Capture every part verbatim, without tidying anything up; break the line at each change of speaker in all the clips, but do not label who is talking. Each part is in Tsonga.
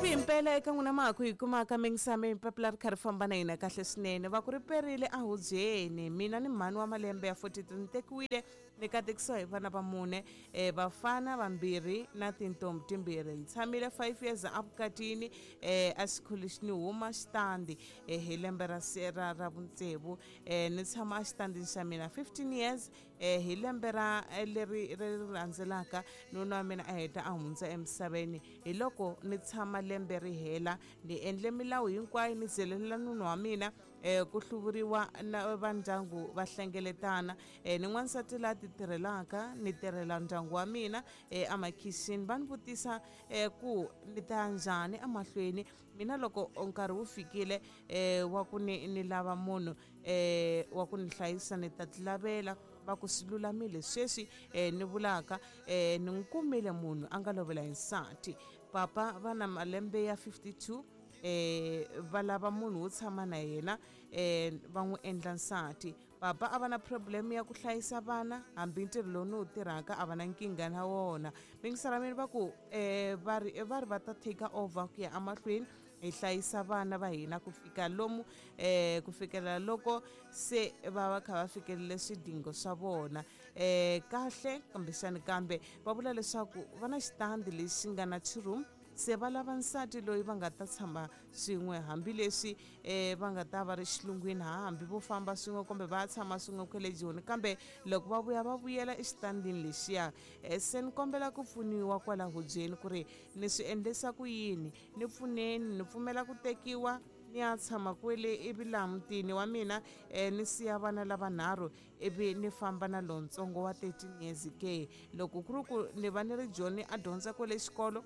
Himpela eka n'wina ma ha ku hi kumaka mingisame papila ri kha ri famba na hina kahle swinene. Va ku ri perile a hubyeni, mina ni mhani wa malembe ya forty-three ni tekiwile ni katekisiwa hi vana va mune, eh, vafana vambirhi na tintombi timbirhi. Ni tshamile five years evukatini, eh, a xikhulu ni huma xitandi, eh, hi lembe ra ra ra vutsevu, eh, ni tshama exitandini xa mina fifteen years, eh, hi lembe ra leri ri landzelaka nuna wa mina a heta a hundza emisaveni. Hi loko ni tshama lembe ri hela, ni endle milawu hinkwayo, ni byelela nuna wa mina, eh, ku hluvuriwa na va ndyangu va hlengeletana, eh, ni n'wansati la ti tirhelaka, ni tirhela ndyangu wa mina, eh, emakhixini. Va ni vutisa, eh, ku ni ta njhani emahlweni. Mina loko nkarhi wu fikile, eh, wa ku ni ni lava munhu, eh, wa ku ni hlayisa, ni ta tilavela. Va ku swi lulamile sweswi, eh, ni vulaka, eh, ni n'wi kumile munhu a nga lovela hi nsati. Papa va na malembe ya fifty-two, eh, va lava munhu wo tshama na yena, eh, va n'wi endla nsati. Papa a va na problem ya ku hlayisa vana, hambi ntirho lowu ni wu tirhaka a va na nkingha na wona. Mingisara mina va ku, eh, va ri va ri va ta take over ku ya emahlweni hi hlayisa vana va hina ku fika lomu, eh, ku fikela loko se va va kha va fikelele swidingo swa vona, eh, kahle. Kumbexani kambe va vula leswaku va na xitandi lexi nga na two room, se va lava nsati loyi va nga ta tshama swin'we, hambileswi, eh, va nga ta va ri xilungwini, hambi vo famba swin'we kumbe va tshama swin'we kwale Joni, kambe loko va vuya va vuyela exitandini lexiya. Eh, se ni kombela ku pfuniwa kwala hubyeni ku ri ni swi endlisa ku yini, ni pfuneni, ni pfumela ku tekiwa ni ya tshama kwele ivi laha mutini wa mina, eh, ni siya vana lavanharhu ivi ni famba na lontsongo wa thirteen years ke. Loko ku ri ku ni va ni ri Joni a dyondza kwele xikolo,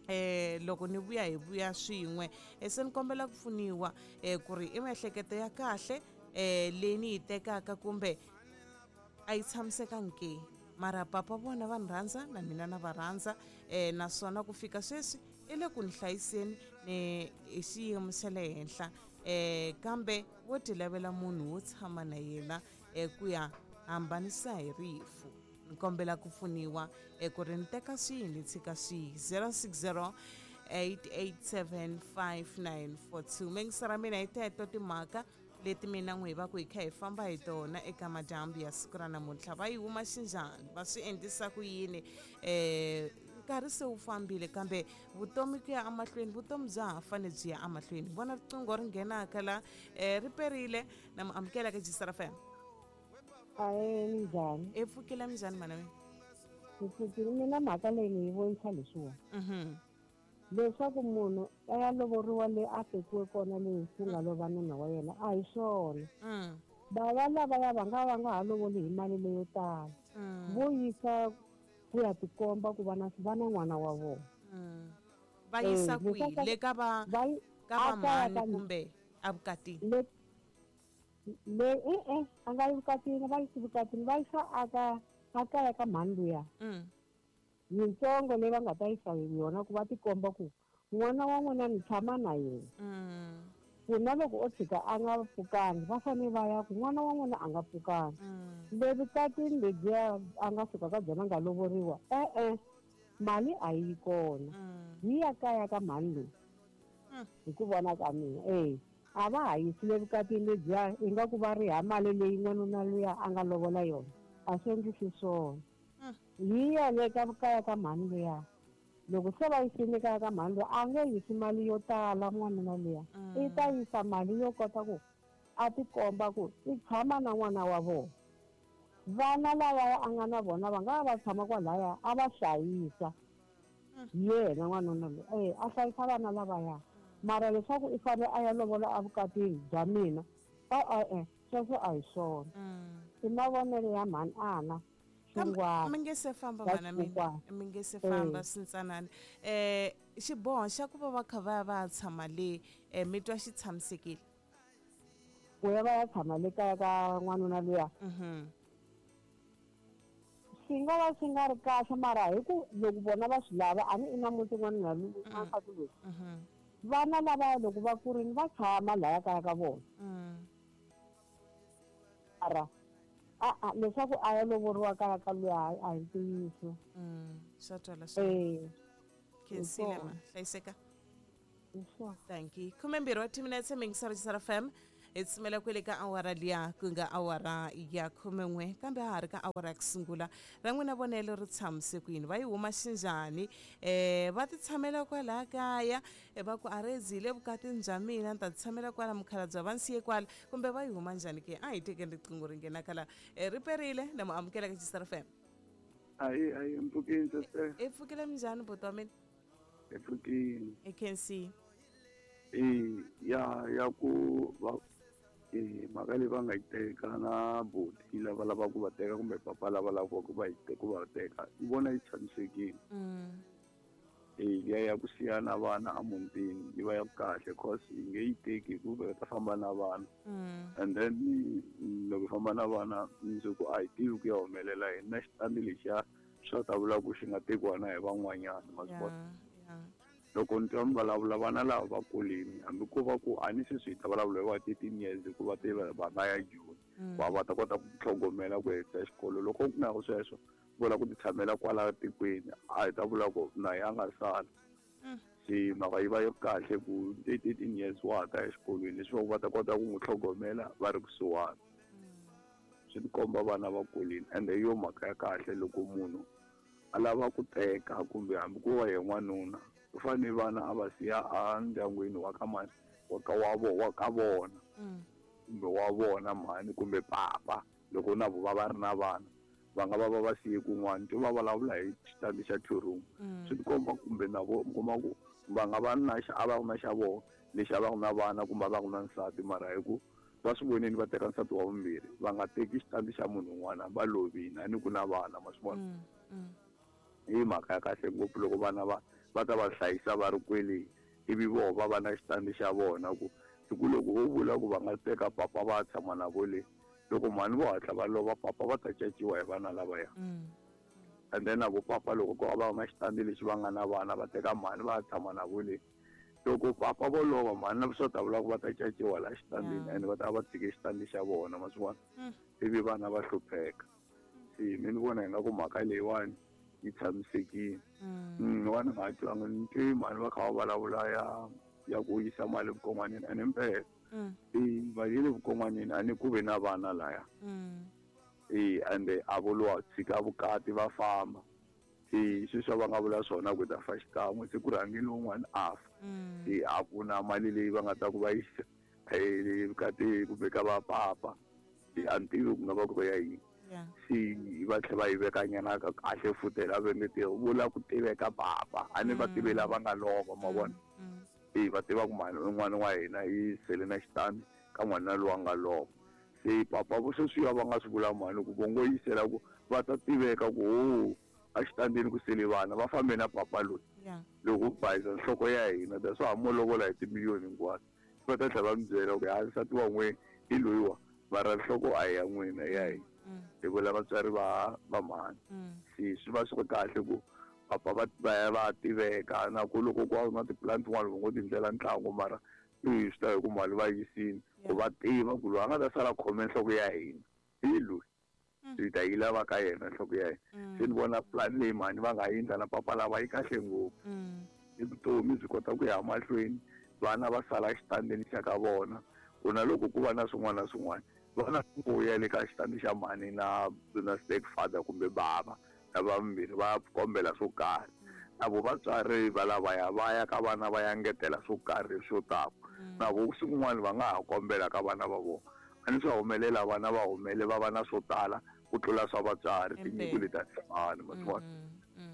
eh, loko ni vuya hi vuya swin'we. Eh, se ni kombela ku pfuniwa, eh, ku ri i miehleketo ya kahle, eh, leyi ni yi tekaka kumbe a yi tshamisekangi ke. Mara papa vona va ni rhandza na mina na va rhandza, eh, naswona ku fika sweswi i le ku ni hlayiseni ni hi xiyimo xa le henhla, eh, kambe wo ti lavela munhu wo tshama na yena, eh, ku ya hambanisa hi rifu. Ni kombela ku pfuniwa, eh, ku ri ni teka swihi ni tshika swihi. zero six zero eight eight seven five nine four two. Mingisara mina hi teto timhaka leti mina n'wi hi va ku hi kha hi famba hi tona eka madyambu ya siku ra namuntlha. Va yi huma xinjhani, va swi endlisa ku yini? Eh, nkarhi se wu fambile, kambe vutomi ku ya emahlweni, vutomi bya ha fanele byi ya emahlweni. Vona riqingho ri nghenaka la, eh, ri perile. Na mu amukela ka Jisara F M.
Ahee, minjhani?
E pfukile minjhani mana mina?
Ni pfukile. Mina mhaka leyi ni yi vonisa leswiwa.
Mhm.
Leswaku munhu a ya lovoriwa le a tekiwe kona le ku nga lova nuna wa yena, a hi swona.
Mm.
Bava lavaya va nga va nga ha lovoli hi mali leyo tala.
Mm.
Vo yisa ku ya tikomba ku va na va na n'wana wa vona.
Mm. Va yisa
Eh,
kwihi?
leswaku
Le ka va
va yi-
ka va
a kaya
mhani
ka
kumbe evukatini?
Le, le, e-e, a nga yi vukatini, va yisi vukatini, va yisa a ka, a kaya ka mhani luya.
Mm.
Yitsongo leyi va nga ta yisa hi yona ku va tikomba ku n'wana wa n'wina ni tshama na yena.
Mm.
Ku na loko o tshika a nga pfukangi, va fanele va ya ku n'wana wa n'wina a nga pfukangi.
Mm.
Le vukatini lebyiya a nga suka ka byona a nga lovoriwa, e-e, mali a yi kona.
Mm.
Yi ya kaya ka mhani loyi.
Mm.
Hi ku vona ka mina, e. A va ha yisi le vukatini lebyiya ingaku va riha mali leyi n'wanuna luya a nga lovola yona. A swi endlisi swona.
Mm.
Yi ya le ka kaya ka mhani luya. Loko se va yisile kaya ka mhani luya, a nge yisi mali yo tala n'wanuna luya.
Mm.
I ta yisa mali yo kota ku a tikomba ku i tshama na n'wana wa vona. Vana lavaya a nga na vona va nga va tshama kwalaya a va hlayisa.
Mm.
Yena n'wanuna loyi, eh, a hlayisa vana lavaya. Mara leswaku i fanele a ya lovola evukatini bya mina, e-e, sweswo a hi swona.
Mm.
I mavonelo ya mhani Ana.
Kambe
Xingwana.
mi nge se famba
Va
mana mina,
xingwana.
mi nge se famba
Eh.
swintsanana. Eh, xiboho xa ku va va kha va ya va ya tshama le, eh, mi twa xi tshamisekile?
Ku ya va ya tshama le kaya ka n'wanuna luya.
Mhm.
Swi nga va swi nga ri kahle, mara hi ku loko vona va swi lava, a ni i na muti n'wanuna loyi,
Mm.
wansati loyi.
Mhm.
Vana lavaya loko va kurile va tshama laya kaya ka vona.
Mm.
Mara, a, a, leswaku a ya lovoriwa kaya ka luya, a hi ntiyiso.
Mm. Swa twala swa.
Eh.
Khensile ma,
Hi swona.
hlayiseka.
Sure.
Thank you. Khumembirhi wa timinetse mingisari Xisara F M. Hi tsumela kwele ka awara liya ku nga awara ya khumen'we kambe ha ha ri ka awara ya ku sungula ra n'wina vonelo ri tshamise ku yini va yi huma xinjhani um va ti tshamela kwalaha kaya va ku a ri zile vukatini bya mina ni ta ti tshamela kwala mukhalabye va nsiye kwala kumbe va yi huma njhani ke a hi tekeni riqingho ri nghena kala ri perile na mu amukela ka Xisara F M.
Ayi ayi mpfukini sister.
I pfukile minjhani buti wa mina?
I pfukile.
I khensi.
E ya ya ku va e mhaka leyi va nga yi teka na buti lava lavaka ku va teka kumbe papa lava lavaka ku va yi ku va teka ni vona yi tshamisekile. E liya ya ku siya na vana emutini yi va ya kahle cause yi nge yi teki hikuva va ta famba na vana. And then loko hi famba na vana mundzuku a hi tivi ku ya humelela yini na xitandi lexiya swa ta vula ku xi nga tekiwa na hi van'wanyana ma swi vona. Loko ni twa mi vulavula vana lava va kulini hambi ko va ku a ni sweswi hi ta vulavula hi va thirteen years hikuva te va nga ya Joni va va ta kota ku tlhogomela ku hetisa xikolo loko ku na sweswo vula ku ti tshamela kwala tikweni a hi ta vula ku na ya nga sala se mhaka yi va yi kahle ku thirteen years wa ha ta exikolweni leswaku va ta kota ku n'wi tlhogomela va ri kusuhani swi tikomba vana va kulini ende hi yo mhaka ya kahle loko munhu a lava ku teka kumbe hambi ku va hi n'wanuna u fanele vana a va siya endyangwini wa ka mani wa ka wa vo wa ka vona kumbe wa vona mhani kumbe papa loko na vo va va ri na vana va nga va va va siye kun'wana to va vulavula hi xitandi xa two room swi tikomba kumbe na vo mi kuma ku va nga va na xa a va ku na xa vona lexi a va ku na vana kumbe a va ku na nsati mara hi ku va swi vonile va teka nsati wa vumbirhi va nga teki xitandi xa munhu un'wana va lovini a ni ku na vana ma swi vona hi mhaka ya kahle ngopfu loko vana va va ta va hlayisa va ri kwele ivi voho va va na xitandi xa vona ku hi ku loko wo vula ku va nga teka papa va tshama na vo le loko mhani vo hatla va lova papa va ta caciwa hi vana lavaya and then na vo papa loko ko va na xitandi lexi va nga na vana va teka mhani va tshama na vo le loko papa vo lova mhani na swo ta vula ku va ta caciwa laha xitandini and va ta va tshike xitandi xa vona ma swi vona ivi vana va hlupheka se mi ni vona ingaku mhaka leyiwani yi tshamisekile n'wana nga twanga ni twi mhani va kha va vulavula ya ya ku yisa mali vukon'wanini ene mpela e mali ya le vukon'wanini a ni ku ve na vana laya e ende a vo lowa tshika vukati va famba e sweswi va nga vula swona ku ta fa xikan'we se ku rhangile un'wana a fa e a ku na mali leyi va nga ta ku va yisa vukati kumbe ka va papa e a ni tivi ku nga va ku ri ya yini se va tlhela va yi vekanyana kahle futhi la va nge te vula ku tiveka papa a ni va tivi lava nga lova ma vona e va tiva ku mhani un'wana wa hina yi sele na xitandi ka n'wana loyi a nga lova se papa vo sweswiya va nga swi vula mhani ku vongo yisela ku va ta tiveka ku ho a xitandini ku sele vana va fambe na papa loyi loko u bayisa nhloko ya hina ta swa ha mo lovola hi timiliyoni hinkwato va ta tlhela va mi byela ku ha nsati wa n'we hi loyiwa mara nhloko a hi ya n'wina ya hina hi vula vatswari va va mhani se swi va swi ri kahle ku papa va va ya va tiveka na ku loko ku na tipulani tin'wana va ngo tindlela ntlangu mara i swi ta hi ku mali va yisini ku va tiva ku loyi a nga ta sala khome nhloko ya hina hi loyi hi ta yi lava ka yena nhloko ya hina se ni vona plan leyi mhani va nga yi endla na papa lava yi kahle ngopfu i vutomi byi kota ku ya mahlweni vana va sala xitandini xa ka vona ku na loko ku va na swin'wana na swin'wana vana ku ya le ka xitandi xa mhani na na stepfather kumbe bava lava vambirhi va kombela swo karhi na vo vatswari va lavaya va ya ka vana va ya ngetela swo karhi swo tala na vo siku rin'wana va nga ha kombela ka vana va vona a ni swa humelela vana va humele va va na swo tala ku tlula swa vatswari tinyiko leti a ti fani ma swi vona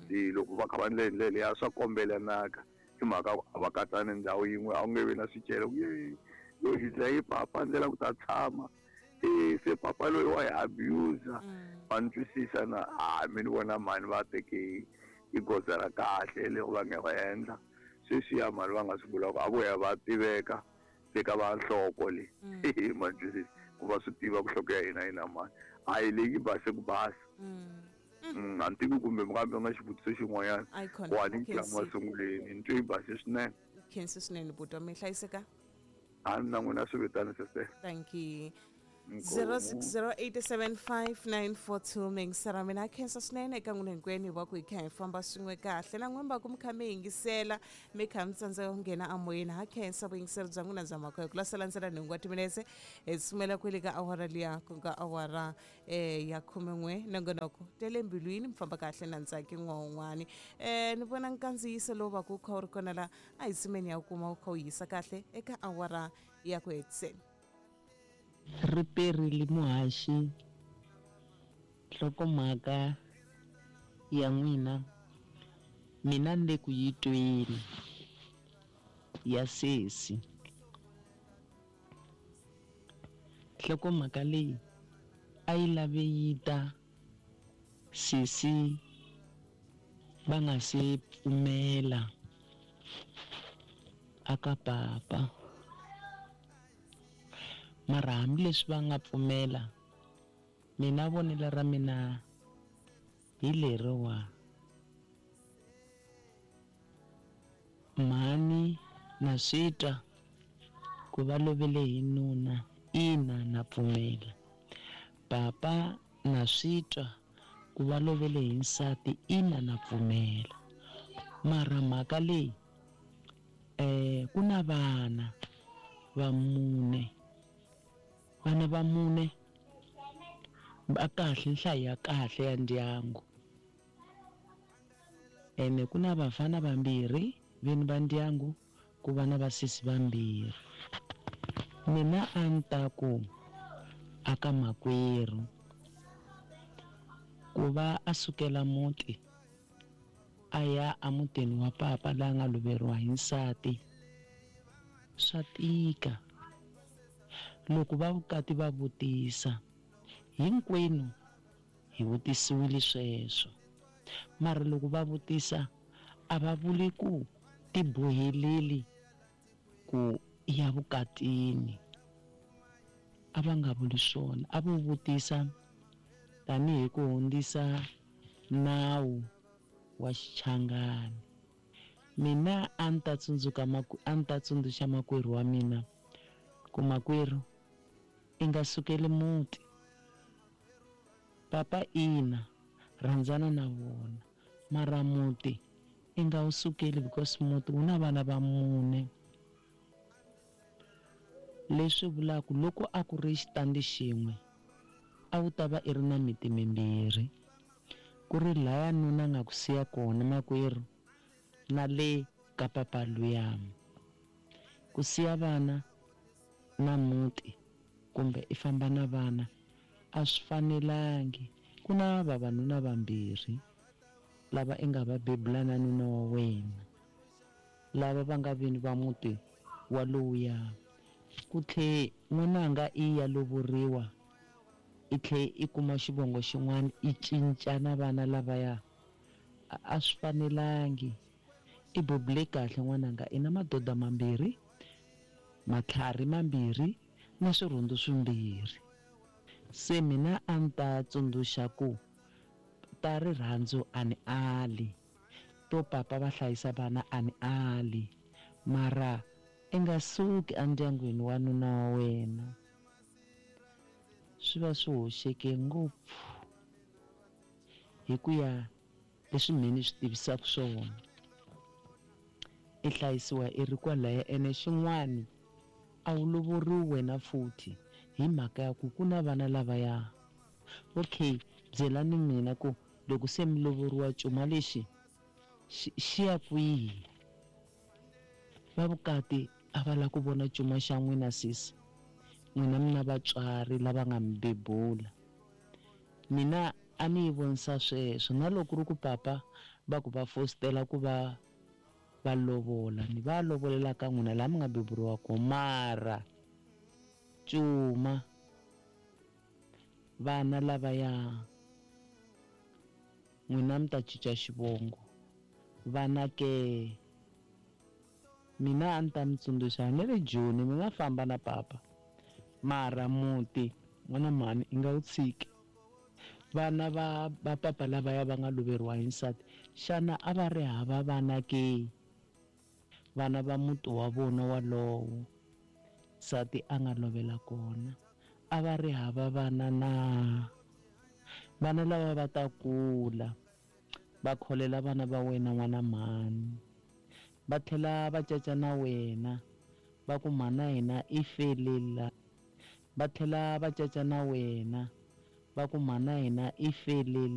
se loko va kha va ndlela ndlela ya swa kombelanaka hi mhaka a va katsani ndhawu yin'we a wu nge vi na swicele ku ye loyi dlaye papa ndlela ku ta tshama e se papa loyi wa hi abuser va ni twisisa na a mi ni vona mhani va teke i goza ra kahle leri va nga va endla sweswiya mhani va nga swi vula ku a vo ya va tiveka eka va nhloko le ma ni twisisa ku va swi tiva ku nhloko ya hina yi na mani a hi leyi base ku basa a ni tivi kumbe mi nga mi nga xivutiso xin'wanyana ku a ni ntlangu masunguleni ni twe yi base swinene
khensi swinene buti wa mi hlayiseka
a ni na n'wina swi vitana sese
thank you. zero six zero eight seven five nine four two mingisera mina khensa swinene eka n'wina hinkwenu hi va ku hi kha hi famba swin'we kahle na n'wina va ku mi kha mi yingisela mi kha mi tsandzeka ku nghena amoyeni ha khensa vuyingiseri bya n'wina bya mhaka hi ku lasela ndzela nhungu wa timinetse hi tsumela kwele ka awara liya ku nga awara um ya khumen'we nongonoko tele mbilwini mi famba kahle na ntsaki n'wan'wani um ni vona nkandziyiso lowu va ku wu kha wu ri kona la a hi tsimeni ya wu kuma wu kha wu yisa kahle eka awara ya ku hetiseni.
Ri perile muhaxi nhlokomhaka ya n'wina mina ni le ku yi tweni ya sesi. Nhlokomhaka leyi a yi lave yi ta sesi va nga se pfumela aka papa. Mara hambileswi va nga pfumela mina vonelo ra mina hi leriwa mhani na swi twa ku va lovele hi nuna ina na pfumela papa na swi twa ku va lovele hi nsati ina na pfumela mara mhaka leyi eh ku na vana va mune vana va mune va kahle nhlayo ya kahle ya ndyangu ene ku na vafana vambirhi vini va ndyangu ku va na vasesi vambirhi. Mina a ni ta ku aka makwerhu ku va a sukela muti a ya emutini wa papa laha nga loveriwa hi nsati swa tika. Loko va vukati va vutisa hinkwenu hi vutisiwile sweswo mara loko va vutisa a va vuli ku tiboheleli ku ya vukatini a va nga vuli swona a vo vutisa tanihi ku hundzisa nawu wa xichangani. Mina a ni ta tsundzuka a ni ta tsundzuxa makwerhu wa mina ku makwerhu i nga sukeli muti papa ina rhandzana na vona mara muti i nga wu sukeli because muti wu na vana va mune leswi vulaka loko a ku ri xitandi xin'we a wu ta va i ri na miti mimbirhi ku ri laya nuna nga ku siya kona makwerhu na le ka papa luya ku siya vana na muti kumbe i famba na vana a swi fanelangi ku na vavanuna vambirhi lava i nga va bebula na nuna wa wena lava va nga vini va muti wa lowuya ku tlhe n'wananga i ya lovoriwa i tlhe i kuma xivongo xin'wana i cinca na vana lavaya a swi fanelangi i bebule kahle n'wananga i na madoda mambirhi matlhari mambirhi na swirhundu swimbirhi. Se mina a ni ta tsundzuxa ku ta rirhandzu a ni ali to papa va hlayisa vana a ni ali mara i nga suki endyangwini wa nuna wa wena swi va swi hoxeke ngopfu hi ku ya leswi mina ni swi tivisaka swona i hlayisiwa i ri kwalaya ene xin'wani a wu lovoriwi wena futhi hi mhaka ya ku ku na vana lavaya. Okay byelani mina ku loko se mi lovoriwa cuma lexi xi ya kwihi va vukati a va lava ku vona cuma xa n'wina sesi n'wina mi na vatswari lava nga mi bebula mina a ni yi vonisa sweswo na loko ri ku papa va ku va fositela ku va va lovola ni va lovolela ka n'wina laha mi nga beburiwa kona mara cuma vana lavaya n'wina mi ta cinca xivongo vana ke mina a ni ta mi tsundzuxa ni ri Joni mi nga famba na papa mara muti n'wana mhani i nga wu tshiki vana va va papa lavaya va nga loveriwa hi nsati xana a va ri hava vana ke vana va muti wa vona walowo nsati a nga lovela kona a va ri hava vana na? Vana lava va ta kula va kholela vana va wena n'wana mhani, va tlhela va caca na wena va ku mhana hina i felela, va tlhela va caca na wena va ku mhana hina i felela.